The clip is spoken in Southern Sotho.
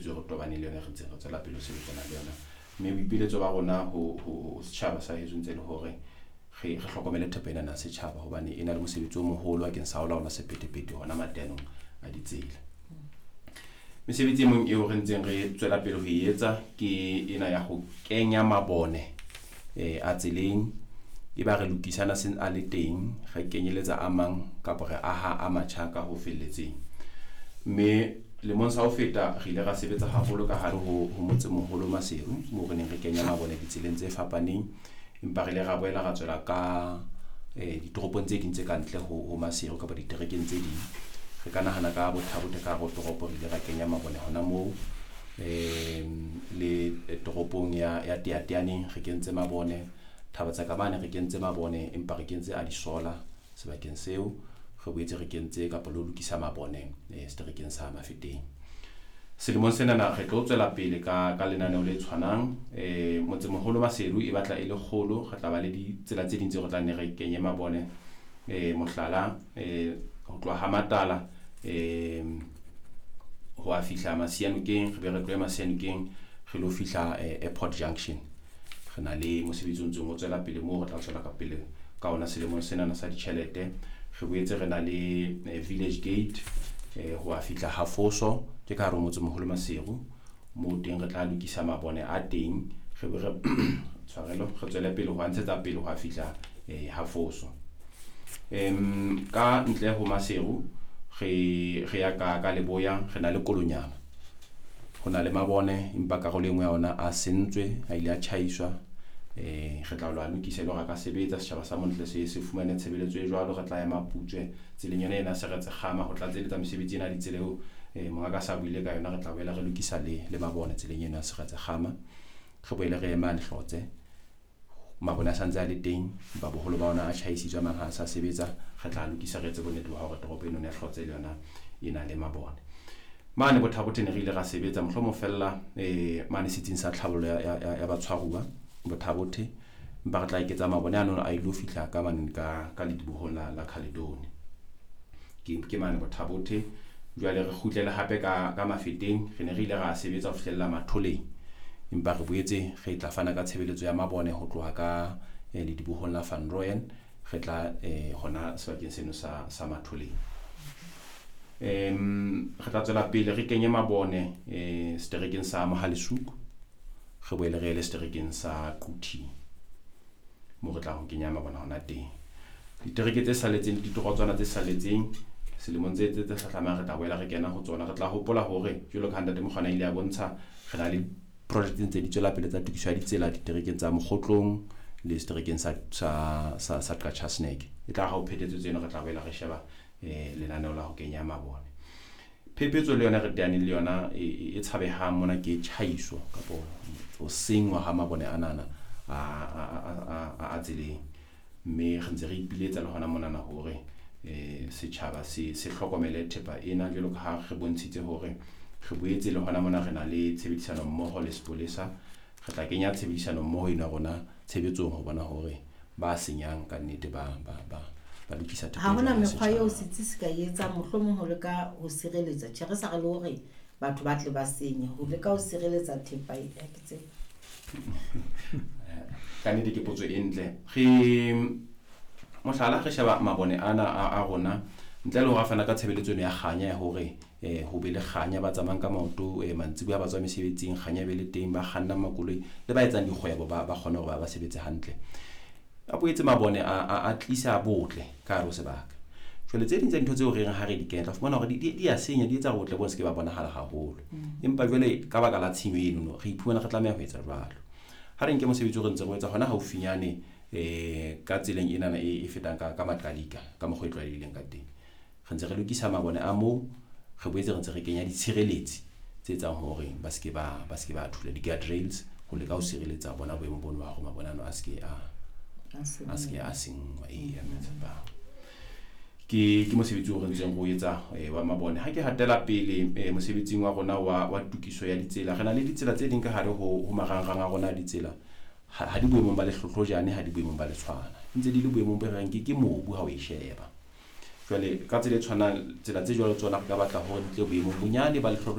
Phephetso e re tobaneng le yona, re ntseng re tswela pele ho sebetsana le yona. Mme boipiletso ba rona ho setjhaba sa heso ntse le hore re hlokomele thepa ena ya setjhaba, hobane e na le mosebetsi o moholo bakeng sa ho laola sephethephethe hona mateanong a ditsela. Mesebetsi e mong eo re ntseng re tswela pele ho e etsa ke ena ya ho kenya mabone a tseleng. E ba re lokisana seng a le teng, re kenyeletsa a mang kapa re aha a matjha ka ho felletseng. Mme lemong sa ho feta re ile ra sebetsa haholo ka hare ho motsemoholo Maseru, moo re neng re kenya mabone ditseleng tse fapaneng. Empa re ile ra boela ra tswela ka ditoropong tse ding tse ka ntle ho Maseru kapa diterekeng tse ding. Re ka nahana ka Botha-Bothe ka hare ho toropo, re ile ra kenya mabone hona moo. Le toropong ya Teateaneng re kentse mabone, Thaba tsa Kamane re kentse mabone, empa re kentse a disola sebakeng seo. Re boetse re kentse kapa le ho lokisa mabone seterekeng sa Mafeteng. Selemong senana re tlo tswela pele ka lenaneo le tshwanang. Motsemoholo Maseru e batla e le kgolo, re tla ba le ditsela tse ding tseo re tla nne re kenye mabone. Mohlala, ho tloha ha Matala ho a fihla Masianokeng, re be re tlohe Masianokeng re lo fihla Airport Junction. Re na le mosebetsi o ntseng o tswela pele moo re tla tswela ka pele ka ona selemong senana sa ditjhelete. Re boetse re na le Village Gate ho a fihla Hafoso, ke ka hare ho motsemoholo Maseru. Moo teng re tla lokisa mabone a teng, re be re tshwarelo, re tswele pele ho a ntshetsa pele ho a fihla Hafoso. Ka ntle ho Maseru re ya ka Leboya, re na le Kolonyama. Ho na le mabone, empa karolo e nngwe ya ona a sentswe, a ile a tjhaiswa. Re tla lo a lokisa e le hore a ka sebetsa, setjhaba sa Montle se fumane tshebeletso e jwalo. Re tla ya Maputswe tseleng yona ena Seretse Kgama ho tlatseletsa mesebetsi ena ditsela eo mongaka sa buile ka yona. Re tla boela re lokisa le mabone tseleng ena Seretse Kgama. Re boele re ema Lehlotse, mabone a santse a le teng, empa boholo ba ona a tjhaisitswe, a mang ha a sa sebetsa. Re tla lokisa, re etse bonnete ba hore toropo eno ya Hlotse le yona e na le mabone. Mane Botha-Bothe ne re ile ra sebetsa mohlomong fella mane setsing sa tlhabollo ya batshwaruwa Botha-Bothe, empa re tla eketsa mabone ano a ilo fihla ka mane ka ledibohong la Caledoni. Ke mane Botha-Bothe. Jwale re kgutlele hape ka Mafeteng, re ne re ile ra sebetsa ho fihlella Matholeng, empa re boetse re tla fana ka tshebeletso ya mabone ho tloha ka ledibohong la Van Rooyen, re tla hona sebakeng seno sa Matholeng. Re tla tswela pele re kenye mabone seterekeng sa Mohalesuku, re boele re ele seterekeng sa Quthing moo re tlang ho kenya mabone hona teng. Ditereke tse saletseng le ditorotswana tse saletseng selemong tse hlahlamang re tla boela re kena ho tsona. Re tla hopola hore jwalo ka ha Ntate Mokgwana ile a bontsha, re na le project ntse di tswela pele tsa tokiso ya ditsela diterekeng tsa Mokgotlong le seterekeng sa Qacha's Nek. E tla ha ho phethetswe tseno, re tla boela re sheba lenaneo la ho kenya mabone. Phephetso le yona re teaneng le yona e tshabehang mona ke tjhaiso kapo ho senngwa ha mabone anana a tseleng. Mme re ntse re ipiletsa le hona monana hore setjhaba se hlokomele thepa ena, jwalo ka ha re bontshitse hore re boetse le hona mona re na le tshebedisano mmoho le sepolesa. Re tla kenya tshebedisano mmoho ena rona tshebetsong ho bona hore ba senyang ka nnete ba lokisa thepa. Ha hona mekgwa eo setsi se ka etsang mohlomong ho leka ho sireletsa. Tjhe, re sa re le hore batho ba tle ba senye, ho leka ho sireletsa thepa e ke tsebe. Ka nnete ke potso e ntle. Re mohlala re sheba mabone ana a rona, ntle le hore a fana ka tshebeletso eno ya kganya ya hore ho be le kganya ba tsamayang ka maoto mantsiboya ba tswa mesebetsing, kganya e be le teng, ba kgannang makoloi le ba etsang dikgwebo ba kgone hore ba sebetse hantle. A boetse mabone a tlisa botle ka hare ho sebaka. Jwale tse ding tsa dintho tseo re reng ha re di kenya, tla fumana hore di a senya, di etsa botle bo se ke ba bonahala haholo. Empa jwale ka baka la tshenyo eno, re iphumana re tlameha ho etsa jwalo. Ha re nke mosebetsi o re ntse re o etsa hona haufinyane ka tseleng enana e fetang ka Maqalika ka mokgwa e tlwaelehileng ka teng. Re ntse re lokisa mabone a moo, re boetse re ntse re kenya ditshireletsi tse etsang hore ba se ke ba thula di-guardrails ho leka ho sireletsa bona boemo bono ba hore mabone ano a se ke a senngwa. Eya, ke mosebetsi o re ntseng re o etsa wa mabone. Ha ke hatela pele mosebetsing wa rona wa tokiso ya ditsela, re na le ditsela tse ding ka hare ho marangrang a rona a ditsela. Ha di boemong ba lehlohlojane, ha di boemong ba letshwana, ntse di le boemong bo reng ke mobu ha o e sheba. Jwale ka tsela e tshwanang, tsela tse jwalo tsona re ka batla hore di tle boemong bonyane ba lehlohlo.